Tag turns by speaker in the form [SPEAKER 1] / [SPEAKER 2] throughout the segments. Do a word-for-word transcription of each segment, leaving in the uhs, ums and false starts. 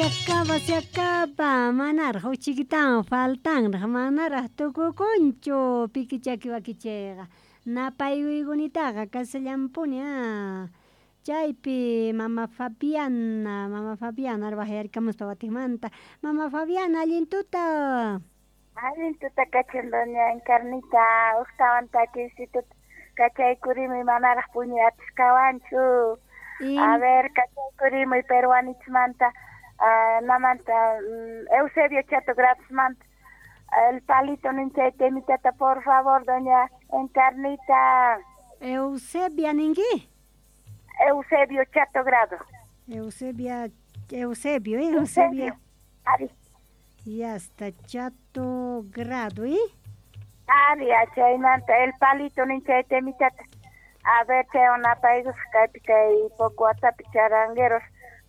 [SPEAKER 1] Se acaba, se acaba. Manaraj uchikitawan faltanraj, manaraj tukukunchu pikichaki wakichayqa. Napaywiykunitaqa kasallampuni ah. Chaypi mama Fabiana, mama Fabiana wajyarikamuspa watikmanta. Mama Fabiana, allin tuta.
[SPEAKER 2] Allin tuta kachan doña Encarnita, ujtawan takisituta kachaykurimuy manaraj puñuy atisqawanchu. A ver, kachaykurimuy peruanichmanta, uh, namanta um, Eusebio Chato Gradosmanta. El palito ninchay temitata, por favor, doña Encarnita.
[SPEAKER 1] Eusebia ninki?
[SPEAKER 2] Eusebio Chato Grado.
[SPEAKER 1] Eusebia, Eusebio, eh, Eusebio.
[SPEAKER 2] Ari.
[SPEAKER 1] Ya está, Chato Grado, ¿eh?
[SPEAKER 2] Ari, chaymanta, el palito ninchay temitata. A ver, chay napaykus kaypi kay poco watapi charangueros,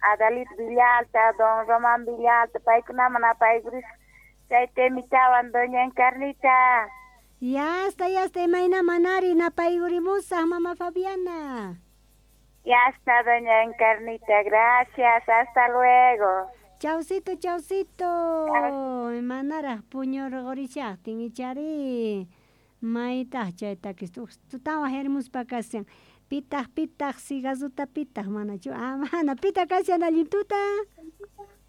[SPEAKER 2] Adalit Villalta, don Román Villalta, paykunaman apaykurisqa chay temitawan, doña Encarnita.
[SPEAKER 1] Ya está, ya está, imayna manari napaykurimusaq, mama Fabiana.
[SPEAKER 2] Ya está, doña Encarnita, gracias, hasta luego.
[SPEAKER 1] Chaucito, chaucito. Manaraj puñurqurishaqtin ichari. Maytaq chay takista tutawan wajyarimuspa kashan. Pitaq, pitaq, cigarruta pitaq, manachu? Ah, mana, pitaq kashan allin tuta.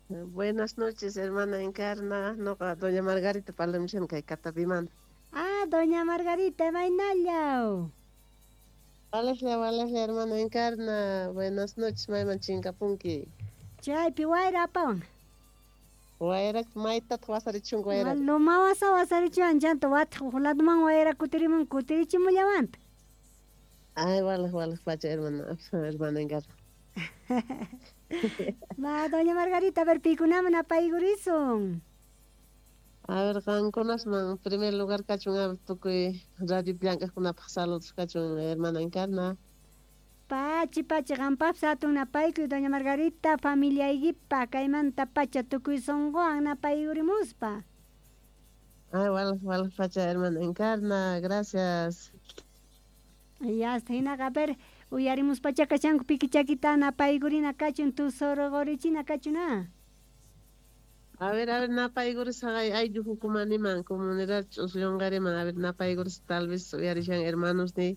[SPEAKER 3] Buenas noches, hermana Encarna. Noqa, doña Margarita parlamushan kay Katapimanta.
[SPEAKER 1] Ah, doña Margarita, imaynallaw.
[SPEAKER 3] Walejlla, walejlla, hermana Encarna. Buenas noches, mayman chinkapunki.
[SPEAKER 1] Chaypi wayra apawan.
[SPEAKER 3] Wayra maytataq wasarichunku wayra.
[SPEAKER 1] Loma wasa wasarichuwan chanta wataq huk ladoman wayra kutirimun kutirichimullawanta.
[SPEAKER 3] Ay, walej, walej pacha, hermana, hermana Encarna.
[SPEAKER 1] Va, doña Margarita, a ver, pikunaman apaykurisun.
[SPEAKER 3] A ver, qankunasman, en primer lugar kachun, a ver, tukuy radio llank'aqkunapaq saludos kachun, hermana Encarna.
[SPEAKER 1] Pachi, pachi, qampapis hatun napaykuy, doña Margarita, familiaykipa, kaymanta pacha tukuy sunquwan napaykurimuspa.
[SPEAKER 3] Ay, walej, walej pacha, hermana Encarna, gracias.
[SPEAKER 1] Ya está, hinaqa, a ver, uyarimuspacha kashanku pikichakita napaykurina kachun, tusurqurichina kachun, ah.
[SPEAKER 3] A ver, a ver, napaykurisaqay ayllu hukumaniman, comunidad ch'usllunqariman, a ver, napaykuris tal vez uyarishan hermanos ni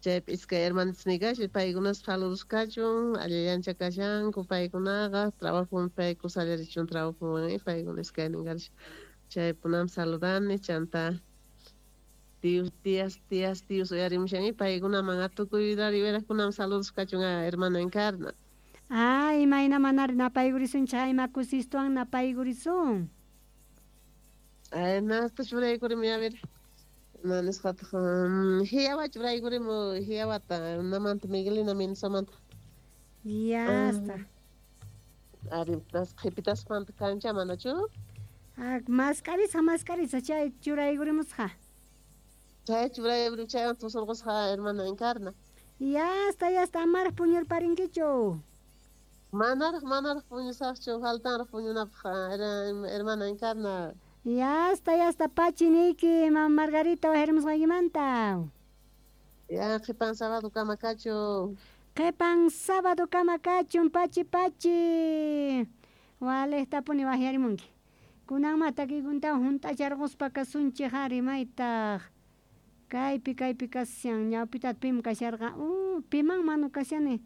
[SPEAKER 3] chaypi iskay hermanos ni kashan, paykunas saludos kachun, allillancha kashanku paykunaqa, trabajo payku sallarichun trabajowan y paykuna iskaynin karishan. Chaypunam saludani, chanta tíos, tías, tías, tíos uyarimushan y paykunaman atukuy rariweraqkunaman saludos kachun, a hermana Encarna.
[SPEAKER 1] Ah, imayna manari napaykurisunchik, ima kusistuwan napaykurisun.
[SPEAKER 3] Ay, nasta churaykurimi, a ver. Ma nisqataq, hiyawa churaykurimu, hiyawata, namanta Miguelina Mendoza-manta.
[SPEAKER 1] Ya está.
[SPEAKER 3] Ari, tas qhipitasqamanta kancha manachu?
[SPEAKER 1] Ah, maskarisa, maskarisa, chay churaykurimusqa.
[SPEAKER 3] Chay churaykurimu, chaywan tusurqusqa, hermana Encarna.
[SPEAKER 1] Ya está, ya está, amaraj puñurparinkichu.
[SPEAKER 3] Manaraj, manaraj puñusaqchu, faltanraj puñunapaq, hermana Encarna.
[SPEAKER 1] Ya está, ya está, pachi niyki, mama Margarita wajyarimusqaykimanta.
[SPEAKER 3] Ya, qhipan sábado kama kachun.
[SPEAKER 1] Qhipan sábado kama kachun, pachi, pachi. Walejtapuni wajyarimunki. Kunanma takiykuntawan hunt'acharquspa kasunchik ari maytaq. Kaypi, kaypi kashan, ñawpitata pim kasharqa, uh, piman manu kashani.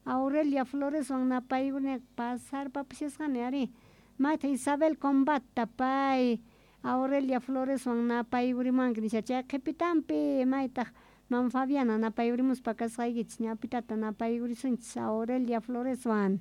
[SPEAKER 1] Aurelia Floreswan napaykuni pasarpapishasqani ari. Mayta Isabel Combata pay Aurelia Floreswan napaykurimuwanki nisha chay qhipitanpi maytaq mama Fabiana napaykurimuspa kasqaykichis ñawpitata napaykurisunchis Aurelia Floreswan.